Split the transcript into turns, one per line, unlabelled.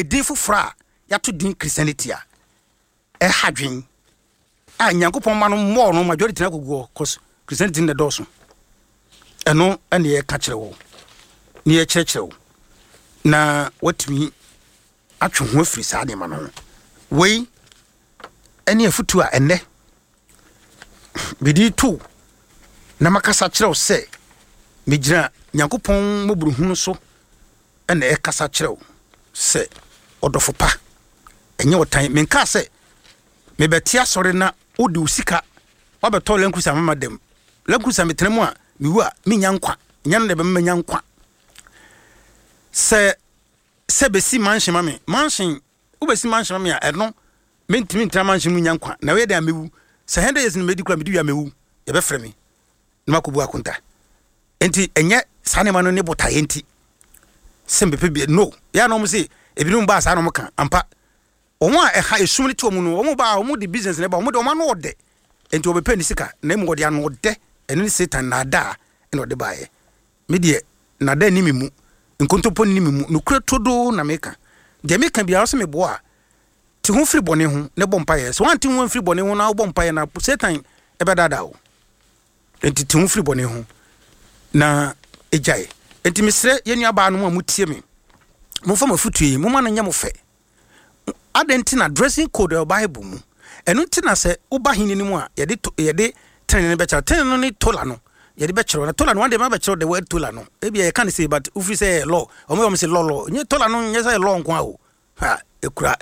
Edin foforɔ a yɛato din Christianity a ɛha dwen a Nyankopɔn ma no mmɔɔ no majority no akɔgu hɔ cause Christianity no na ɛdɔɔso. Ɛno ɛne yɛka kyerɛ wo ne yɛkyerɛkyerɛ wo na watumi atwe ho afiri saa nneɛma no ho. Wei ɛne afutuo a ɛnnɛ mede to na makasa kyerɛ wo sɛ megyina Nyankopɔn mmɔborɔhunu so na ɛkasa kyerɛ wo sɛ ɔdɔfo pa, ɛnyɛ ɔtan. Menkaa sɛ mebɛte asɔre na wode wo sika woabɛtɔ Land Cruiser mama dɛm. Land Cruiser metena mu a mewu a mennya nkwa. Ɛnyɛ no na ɛbɛma manya nkwa. Sɛ sɛ bɛsi mansion ma me, mansion wobɛsi mansion ma me a ɛno mentumi ntena mansion mu nya nkwa. Na ɛyɛ dɛn a mewu. Sɛ 100 years no mɛdi koraa medi wie a mewu. Yɛbɛfrɛ me na makɔbu akonta. Nti ɛnyɛ saa nneɛma no ne botaeɛ nti sɛ mepɛ bi no. Yɛ a na wɔn se ebinom baa saa na wɔn ka ampa. Wɔn a ɛha esum no te wɔn no wɔn baa wɔn de business na ɛba wɔn de wɔn ano ɔdɛ nti wɔbɛpɛ ne sika na emu wɔde ano ɔdɛ ɛno ne Satan naadaa ɛna ɔde baeɛ. Me deɛ naadaa ni me mu nkontompo ni me mu nokorɛ turodoo na meka. Deɛ meka biara sɛ meboa a te ho firi bɔne ho na bɔ mpaeɛ. Sɛ woante ho amfiri bɔne ho na wobɔ mpaeɛ na Satan ɛbɛdaadaa wo. Enti te ho firi bɔne ho na gyae. Enti mesrɛ yɛn nuabaanom a motie me, momfa m'afotuo yi, momma no nyɛ mo fɛ. Adɛn nti na dressing code ɛwɔ Bible mu? Ɛno nti na sɛ woba hene no mu a, yɛde yɛde tenene no bɛkyerɛ. Tenene no ne tola no, yɛde bɛkyerɛ. Na tola no, one day mabɛkyerɛ the word tola no. Ebi yɛka no sei, but wofiri sɛ law. Wɔn yɛ wɔn sɛ law law. Nyɛ tola no nyɛ sɛ law nko a o. Ha, ekura.